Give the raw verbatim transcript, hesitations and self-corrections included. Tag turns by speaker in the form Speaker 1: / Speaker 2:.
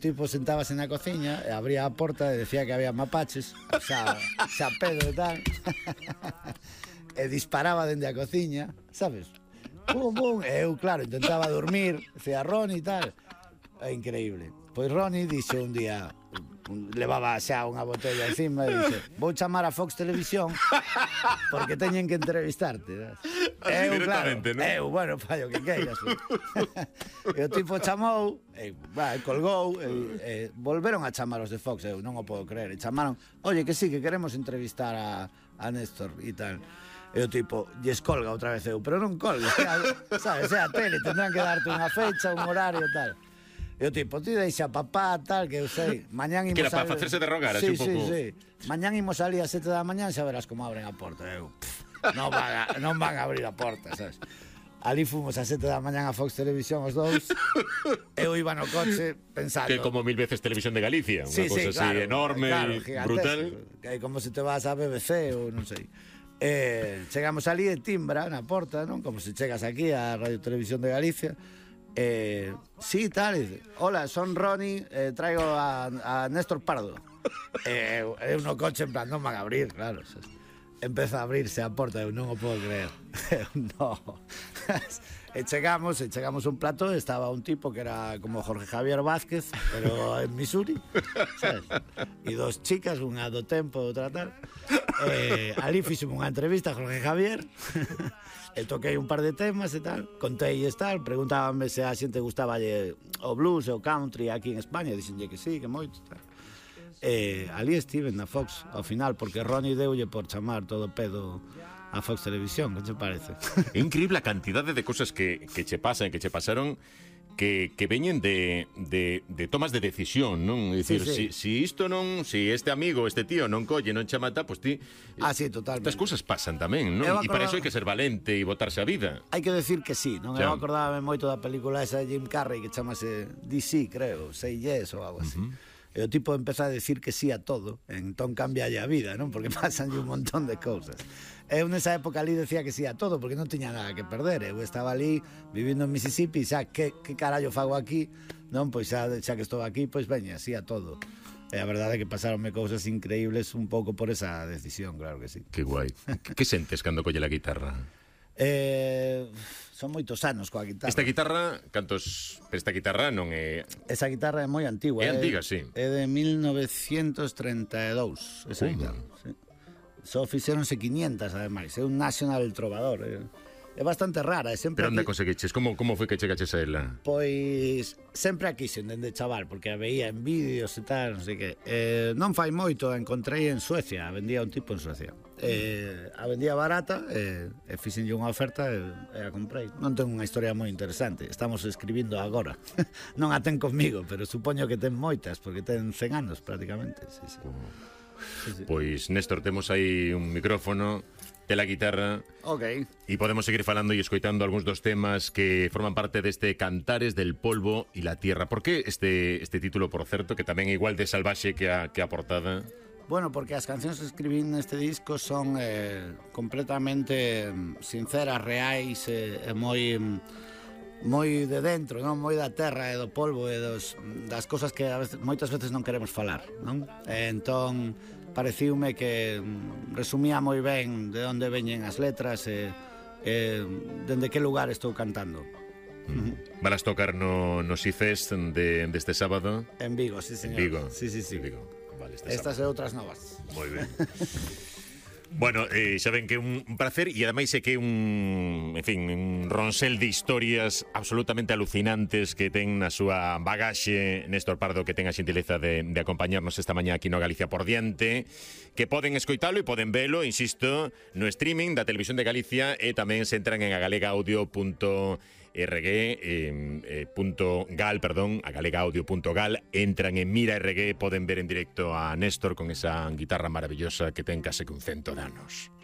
Speaker 1: tipo sentábase na cociña e abría a porta e decía que había mapaches, xa, xa pedo e tal. E disparaba dende a cociña, sabes? Bum, bum. E eu, claro, intentaba dormir, decía Ronnie e tal. É increíble. Pois Ronnie dixo un día, levaba xa unha botella encima e dixe, vou chamar a Fox Televisión porque teñen que entrevistarte.
Speaker 2: Así
Speaker 1: eu,
Speaker 2: directamente,
Speaker 1: claro,
Speaker 2: non?
Speaker 1: eu, bueno, fallo que queiras. E o tipo chamou, e, bah, colgou, e, e volveron a chamar os de Fox, eu non o podo creer, e chamaron, oye, que sí, que queremos entrevistar a, a Néstor e tal. E o tipo, lles colga outra vez eu, pero non colgues, sabes, é a tele, tendrán que darte unha fecha, un horario e tal. E o tipo, ti deixa papá, tal, que eu sei, mañán imos...
Speaker 2: Que era para facerse de rogar, así
Speaker 1: sí,
Speaker 2: un pouco...
Speaker 1: Sí, sí, mañán imos salir a sete da mañán, xa verás como abren a porta. Eu, pff, non, van a, non van a abrir a porta, sabes? Ali fomos a sete da mañán a Fox Televisión os dous. Eu iba no coche pensando...
Speaker 2: Que como mil veces Televisión de Galicia, unha
Speaker 1: sí,
Speaker 2: cosa
Speaker 1: sí,
Speaker 2: así
Speaker 1: claro,
Speaker 2: enorme
Speaker 1: claro,
Speaker 2: e brutal.
Speaker 1: Que como se te vas a B B C ou non sei. Eh, chegamos ali e timbra na porta, non? Como se chegas aquí a Radio Televisión de Galicia. Eh, sí, tal, dice, hola, son Ronnie, eh, traigo a, a Néstor Pardo. Eh, eu no coche en plan, non van a abrir, claro. Empeza a abrirse a porta, eu non o podo creer. No. E chegamos, e chegamos un plató, estaba un tipo que era como Jorge Javier Vázquez, pero en Missouri, sabes? E dos chicas, unha do tempo, outra tal. Eh, ali fixemos unha entrevista a Jorge Javier. E toquei un par de temas e tal, contei e tal, preguntábame se a xente gustaba o blues e o country aquí en España, dixenlle que sí, que moito tal. E ali estive na Fox ao final, porque Ronnie deulle por chamar todo pedo a Fox Televisión, que che parece?
Speaker 2: É increíble a cantidade de cosas que, que che pasan, que che pasaron, que, que veñen de, de, de tomas de decisión, non? É dicir,
Speaker 1: sí, sí.
Speaker 2: Si, si isto non, si este amigo, este tío non colle, non che mata, pois ti...
Speaker 1: Ah, sí, totalmente.
Speaker 2: Estas cousas pasan tamén, non?
Speaker 1: Eu
Speaker 2: E para
Speaker 1: acordaba...
Speaker 2: iso hai que ser valente e botarse a vida.
Speaker 1: Hai que decir que sí, non?
Speaker 2: Xa.
Speaker 1: Eu acordábame moito da película esa de Jim Carrey que chamase D C, creo, Say Yes ou algo así. Uh-huh. E o tipo empeza a decir que sí a todo, entón cambia a vida, non? Porque pasan un montón de cousas. Eu nesa época ali decía que sí a todo, porque non tiña nada que perder. Eu estaba ali, vivindo en Mississippi, xa, que, que carallo fago aquí? Non, pois xa, xa que estou aquí, pois veña, sí a todo. E a verdade é que pasaronme cousas increíbles un pouco por esa decisión, claro que sí.
Speaker 2: Que guai. Que, que sentes cando colle a guitarra?
Speaker 1: Eh, son moitos anos coa guitarra.
Speaker 2: Esta guitarra, cantos... Esta guitarra non é...
Speaker 1: Esa guitarra é moi antigua.
Speaker 2: É antiga, sí.
Speaker 1: É de mil novecientos treinta e dous, esa
Speaker 2: Uh.
Speaker 1: guitarra, sí. Só fixéronse quinientas, ademais. É un National Trovador. É, é bastante rara. É sempre
Speaker 2: Pero onde
Speaker 1: aquí...
Speaker 2: conseguiches? Como, como foi que chegaches a ela?
Speaker 1: Pois sempre a quixen dende chaval, porque a veía en vídeos e tal, non sei que. Eh, non fai moito, a encontrei en Suecia, a vendía un tipo en Suecia. Eh, a vendía barata, e, e fixenlle unha oferta e, e a comprei. Non ten unha historia moi interesante, estamos escribindo agora. Non a ten comigo, pero supoño que ten moitas, porque ten cen anos prácticamente. Sí, sí.
Speaker 2: Uh.
Speaker 1: Sí, sí.
Speaker 2: Pois, Néstor, temos aí un micrófono, tela guitarra.
Speaker 1: Ok.
Speaker 2: E podemos seguir falando e escoitando algúns dos temas que forman parte deste Cantares del polvo e la tierra. Por que este, este título, por certo, que tamén é igual de salvaxe que a, que a portada?
Speaker 1: Bueno, porque as cancións que escribín neste disco son eh, completamente sinceras, reais e, e moi... moi de dentro, non? Moi da terra e do polvo e dos, das cosas que a veces, moitas veces non queremos falar, non? E entón pareciume que resumía moi ben de onde veñen as letras e, e dende que lugar estou cantando.
Speaker 2: Mm. Valas tocar no, no Sifest de, deste sábado?
Speaker 1: En Vigo, sí, señor.
Speaker 2: En Vigo?
Speaker 1: Sí, sí, sí.
Speaker 2: En Vigo. Vale, este
Speaker 1: Estas
Speaker 2: sábado.
Speaker 1: e outras novas.
Speaker 2: Moi ben. Bueno, eh, xa ven que é un placer e ademais é que é un, en fin, un ronsel de historias absolutamente alucinantes que ten na súa bagaxe Néstor Pardo, que ten a xentileza de, de acompañarnos esta mañá aquí no Galicia por diante, que poden escoitalo e poden velo, insisto, no streaming da Televisión de Galicia e tamén se entran en agalegaudio punto rg eh, punto gal, perdón, agalegaudio punto gal, entran en Mira R G, poden ver en directo a Néstor con esa guitarra maravillosa que ten case que un cento de anos.